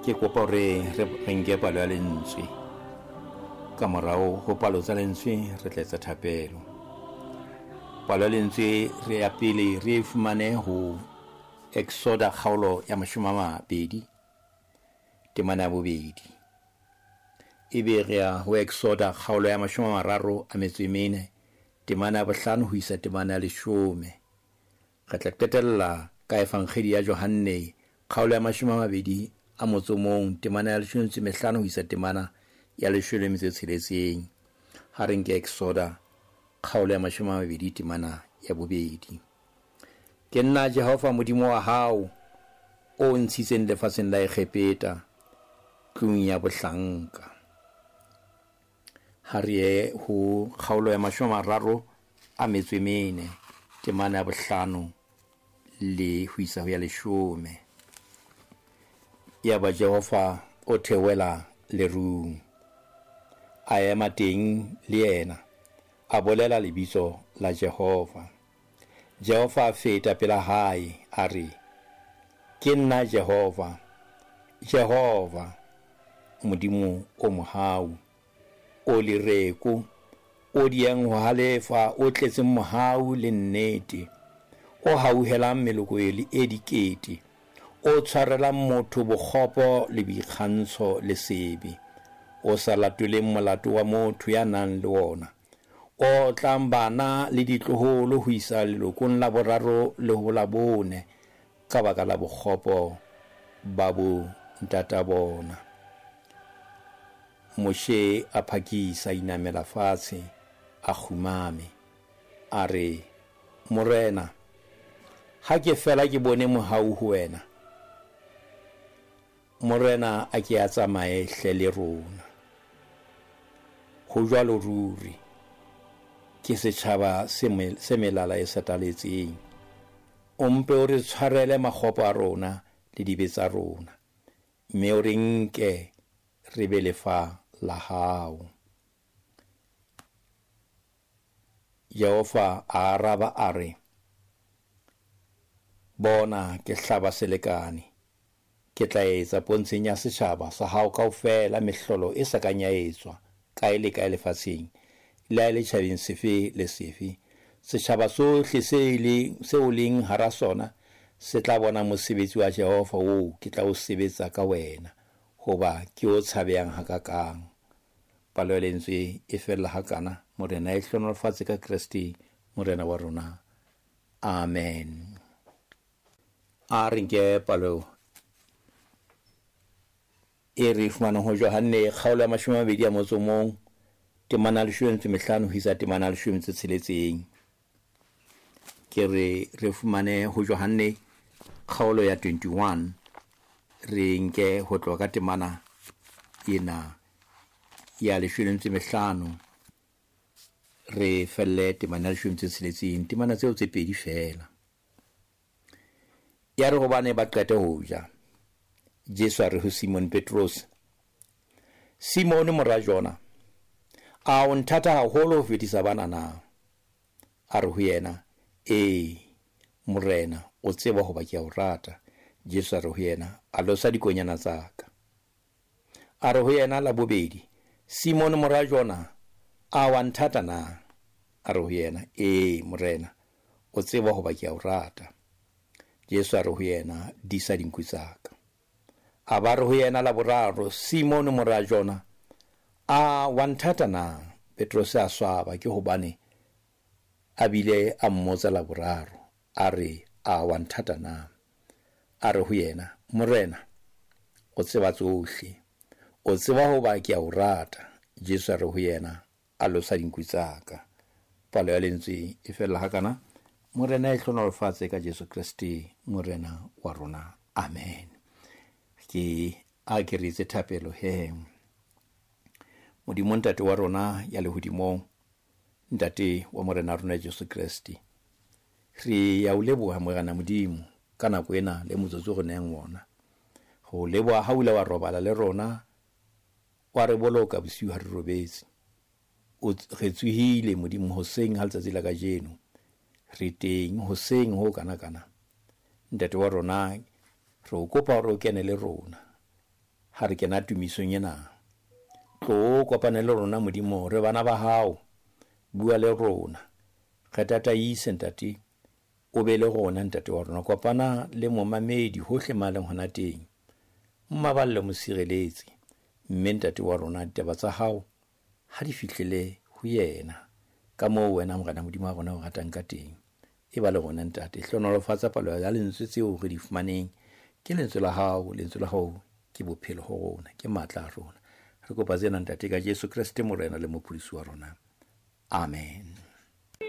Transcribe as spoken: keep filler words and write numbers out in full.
Ke kopa hore re nke palo ya lentswe. Ka morao ho palo tsa lentswe re tla etsa thapelo. Palo ya lentswe re ya pele re e fumane ho Exoda kgaolo ya mashome a mabedi temana ya bobedi. Ebe re ya ho Exoda kgaolo ya mashome a mararo a metso e mene temana ya bohlano ho isa temana ya leshome. Re tla qetella ka Evangeli ya Johanne kgaolo ya mashome a mabedi a motso mong temana ya leshome metso e mehlano ho isa temana ya leshome le metso e tsheletseng. Ha re nke Exoda kgaolo ya mashome a mabedi temana ya bobedi. Ke nna Jehova Modimo wa hao o ntshitseng lefatsheng la Egepeta tlung ya bohlanka. Ha re ye ho kgaolo ya mashome a mararo a metso e mene temana ya bohlano le ho isa ho ya leshome. Yaba Jehova o theohela lerung, a ema teng le yena, a bolela lebitso la Jehova. Jehova a feta pela hae, a re, ke nna Jehova, Jehova, Modimo o mohau, o lereko, o diehang ho halefa, o tletseng mohau le nnete, o hauhelang meloko e dikete, o tshwarelang motho bokgopo le boikgantsho le sebe, o sa latoleng molato wa motho ya nang le wona, o tlang bana le ditloholo ho isa lelokong la boraro le ho la bone ka baka la bokgopo ba bo ntata bona. Moshe a phakisa inamela fatshe, a kgumame, a re, Morena, ha ke fela ke bone mohau ho wena, Morena a ke a tsamaye hle le rona. Ho jwalo ruri, ke setjhaba se melala e sataletseng. O mpe o re tshwarele makgopo a rona le dibe tsa rona, mme o re nke re be lefa la hao. Jehova a araba a re, bona ke hlaba selekane, ke tla etsa pontsheng ya setjhaba sa hao kaofela mehlolo e sa kang ya etswa kae le kae lefatsheng, le ha e le tjhabeng sefe le sefe. Setjhaba sohle se leng seo leng hara sona se tla bona mosebetsi wa Jehova oo ke tla o sebetsa ka wena, hoba ke o tshabehang hakakang. Palo ya lentswe e fella hakana. Morena e hlohonolofatse ka Kreste Morena wa rona. Amen. A re nke palo e re fumanang ho Johanne kgaolo ya mashome a mabedi a motso mong temana ya leshome metso e mehlano ho isa temana ya leshome metso e tsheletseng. Ke re re fumane ho Johanne kgaolo ya twenty-one, re nke ho tloha ka temana ena ya leshome metso e mehlano re felle temana ya leshome metso e tsheletseng, temana tseo tse pedi feela. Ya re hobane ba qete ho ja, Jesu a re ho Simon Petrus, Simone mora Jona, a o nthata haholo ho fetisa bana na? A re ho yena, ee, Morena, o tseba hoba ke a o rata. Jesu a re ho yena, a losa dikonyana tsa ka. A re ho yena la bobedi, Simone mora Jona, a wa nthata na? A re ho yena, ee, Morena, o tseba hoba ke a o rata. Jesu a re ho yena, disa dinku tsa ka. A ba re ho yena la boraro, Simone mora Jona, a wa nthata na? Petrose a swaba ke hobane a bile a mmotsa la boraro, a re, a wa nthata na? A re ho yena, Morena, o tseba tsohle, o tseba hoba ke a o rata. Jesu a re ho yena, a losa dinku tsa ka. Palo ya lentswe e fella hakana. Morena e hlohonolofatse ka Jesu Kreste Morena wa rona. Amen. Ke a ke re etse thapelo he. Modimo Ntate wa rona ya lehodimong, Ntate wa Morena rona Jesu Kreste, re ya o leboha Morena Modimo ka nako ena le motsotso re neng wona. Ho leboha ha o ile wa robala le rona, wa re boloka bosiu ha re robetse. O re tsohile Modimo hoseng ha letsatsi la kajeno, re teng hoseng ho kana kana. Ntate wa rona, re o kopa hore o kene le rona, Ha re kena tumisong ena, tlo kopane le rona Modimo, re bana ba hao, bua le rona, re tataise Ntate, o be le rona Ntate wa rona. Kopana le momamedi hohle ma leng hona teng, mmaballe, mo sireletse, mme Ntate wa rona ditaba tsa hao ha di fihlele ho yena ka moo wena Morena Modimo wa rona o ratang ka teng. E ba le rona Ntate, hlohonolofatsa palo ya lentswe tseo re di fumaneng. Ke lentswe la hao, lentswe la hao ke bophelo ho rona, ke matla a rona. Re kopa tsena Ntate ka Jesu Kreste Morena le Mopholosi wa rona. Amen.